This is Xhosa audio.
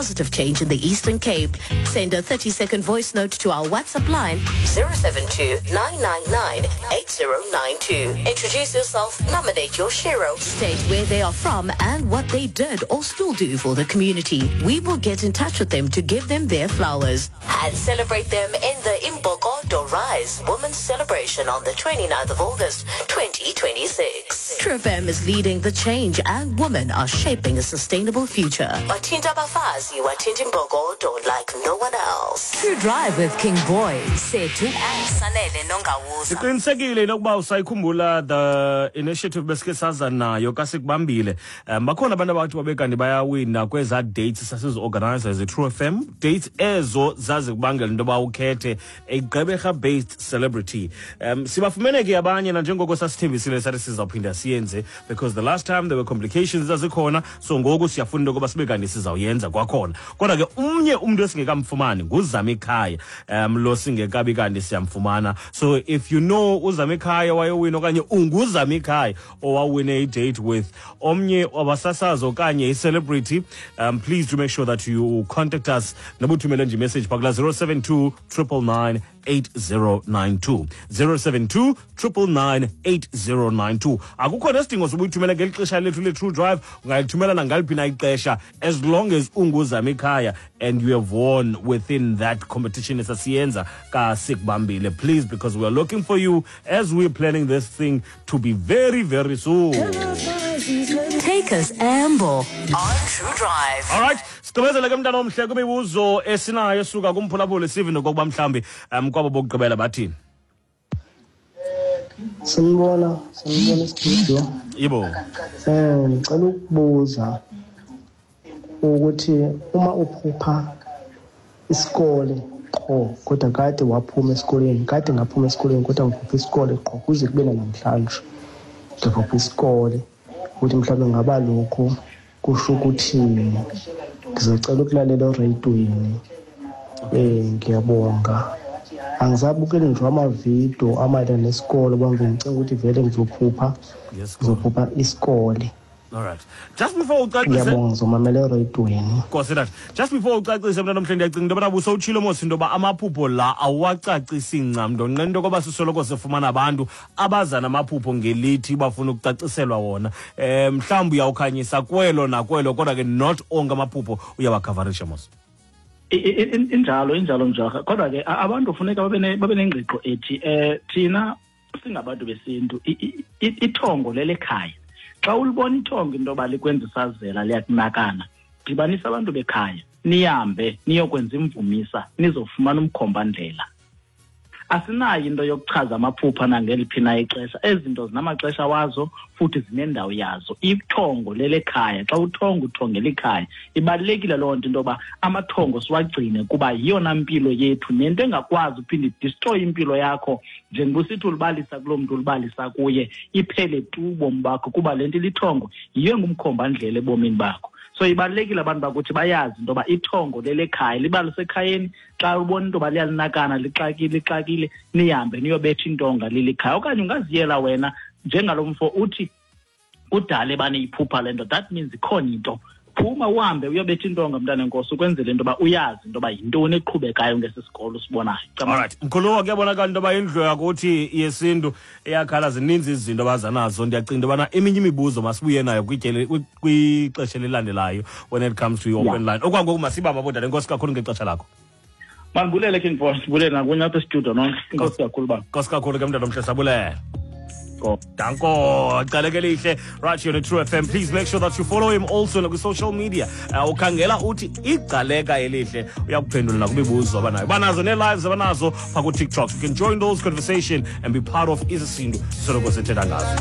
positive change in the Eastern Cape. Send a 30-second voice note to our WhatsApp line 072 999 8092. Introduce yourself, nominate your shero, state where they are from and what they did or still do for the community. We will get in touch with them to give them their flowers and celebrate them in the Imbokodo Rise Women's Celebration on the 29th of August 2026. True FM is leading the change and women are shaping a sustainable future. Wathinta abafazi, wathinta imbokodo like no one else. True Drive with King Boy, Sethu and Sanele Nongawuza. Siqinisekile lokuba usayikhumbula the initiative besike saza nayo kasikubambile. Bakhona abantu abathi babe kanti bayawina kweza dates sasizi-organize as True FM. Dates ezo zazikubangela into yoba ukhethe a Gqeberha based celebrity. Sibafumene ke abanye nanjengoko sasithembisile sathi sizawuphinda siyenze, because the last time there were complications zazikhona, so ngoku siyafuna into yokuba sibe kanti sizawuyenza kwakhona. Kodwa ke umnye umntu esingekamfumani nguZamikhaya, lo singekabi kanti siyamfumana. So if you know uZamikhaya wayewina okanye unguZamikhaya owawine i-date with omnye wabasasazi okanye i-celebrity, please do make sure that you contact us noba uthumele nje imessage phakula 072 999 8092, 072 999 8092. Akukho nesidingo soba uyithumele ngeli xesha lethu le-True Drive, ungayithumela nangaliphi na ixesha as long as unguZamikhaya and you have won within that competition esasiyenza kasikubambile. Please, because we are looking for you as we're planning this thing to be very, very soon. Take us amble on True Drive. All right, sigqibezele ke, mntana omhle, kwimibuzo esinayo esuka kumphulaphuli, sive nokokuba mhlawumbi kwabo bokugqibela bathini. Sanibona, sanibona studio. Yebo. Ngicela ukubuza ukuthi uma uphupha isikole qho kodwa kade waphuma esikoleni, kade ngaphuma esikoleni kodwa ngiphupha isikole qho kuze kube namhlanje. Ngiphupha isikole ukuthi mhlawumbe ngaba lokho kusho ukuthini. Ngizocela ukulalela ereyidweni. Ngiyabonga. Angisabukeli nje amavidiyo amayelana nesikole ngoba ngicinga ukuthi vele ngizophupha ngizophupha isikole. All right, just before ucacise Ngiyabonga, ngizomamela ereyidweni. Nkosi that just before ucacise, mntana omhle, ndiyacinga into yobana busowutshilo mos into yoba amaphupho la awuwacacisi ncam. Ndonqena into yokoba sisoloko sifumana abantu abaza namaphupho ngelithi bafuna ukucaciselwa wona. Mhlawumbi uyawukhanyisa kwelo nakwelo, kodwa ke not onke amaphupho uyawakhavarisha mos. Injalo, injalo njaha, kodwa ke abantu funeka babe nengqiqo ethi thina singabantu besintu, ithongo lelekhaya. Xa ulibona ithongo into yoba likwenza isazela, liyakunakana, dibanisa abantu bekhaya, nihambe niyokwenza imvumisa, nizofumana umkhombandlela. Asinayo into yokuchaza amaphupha nangeliphi na ixesha. Ezi zinto zinamaxesha wazo futhi zinendawo yazo. Ithongo lelekhaya, xa uthongo uthongela ikhaya. Ibalulekile loo nto, into yoba amathongo siwagcine kuba yiyona mpilo yethu, nento engakwazi uphinde idestroy impilo yakho njengoba usithi ulibalisa kuloo mntu ulibalisa kuye, iphele tu ubomi bakho, kuba le nto ilithongo yiyo engumkhombandlela ebomini bakho. So ibalulekile abantu bakuthi bayazi into yoba ithongo lelekhaya, liba lisekhayeni. Xa ubona into yoba liyalinakana, lixakile, lixakile, nihambe niyobetha intonga lilikhaya, okanye ungaziyela wena njengalo mfo uthi kudala ebane iphupha le nto. That means ikhona into. Phuma uhambe uyobetha intonga, mntana enkosi, ukwenzela into yoba uyazi into yoba yintoni eqhubekayo ngesi sikolo usibonayo. Alright, mkhuluwa, kuyabonakala into yoba indlu yakuthi yesintu eyakhala zininzi izinto abazanazo. Ndiyacinga into yobana eminye imibuzo masibuye nayo kwixesha elilandelayo when it comes to i-open line. Okwangoku masibamba bodala. Enkosi kakhulu ngexesha lakho. Mandibulele, King Boy, sibulele nakunye apha estudio nonke. Inkosi kakhulu baba. Nkosi kakhulu ke, mntana omhle, sabulela. Danko, Gcaleka elihle, right here on True FM. Please make sure that you follow him also on social media. Ukhangela uthi iGcaleka Elihle, uyakuphendula nakwimibuzo abanayo. Banazo nee-lives abanazo phaa ku-TikTok. You can join those conversation and be part of izisintu soloko sithetha ngazo.